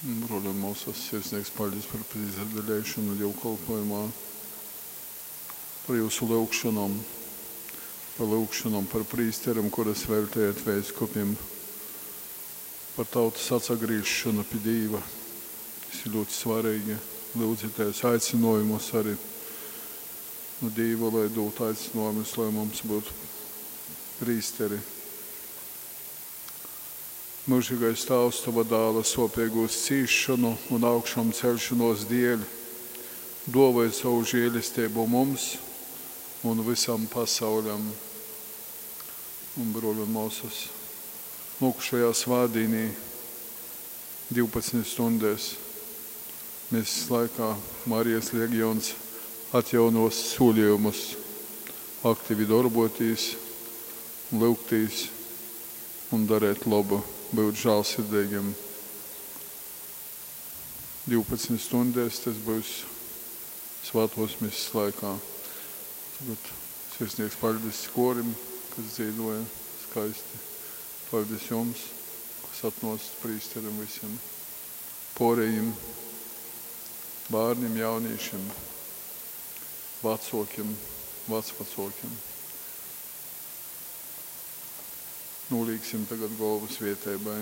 Bruoļi un muosys, sirsnīgs paļdis par pīsadaleišonu dīvkolpojumā, par jūsu lyugšonom, par lyugšonom par prīsterim, kuras veltējat veiskupim, par tautas atsagrīzšonu pi Dīva. Tas ir ļoti svarīgi. Lyudzitēs aicinājumus arī nu Dīva, lai dūtu aicinājumus, lai mums būtu prīsteri. Mūžīgais Tāvs, Tava dāla sopīgūs cīšanu un augšām celšanos dēļ, dāvāj savu žēlistību mums un visam pasauļam. Un, bruoļi un māsas, nākušajā svētdienī, 12 stundēs, mēs laikā Marijas legions atjaunos solījumus aktīvi darboties, lūgtīs un darīt labu, būt žēlsirdīgiem. 12 stundēs tas būs svētos misas laikā. Tagad sirsnīgs paļdis korim, kas dzīvoja skaisti. Paļdis jums, kas atnāca prīsterim visiem, porējiem, bērniem, jauniešiem, vecokiem, vecvecokiem. Nolīksim tagad galvu svietēbai.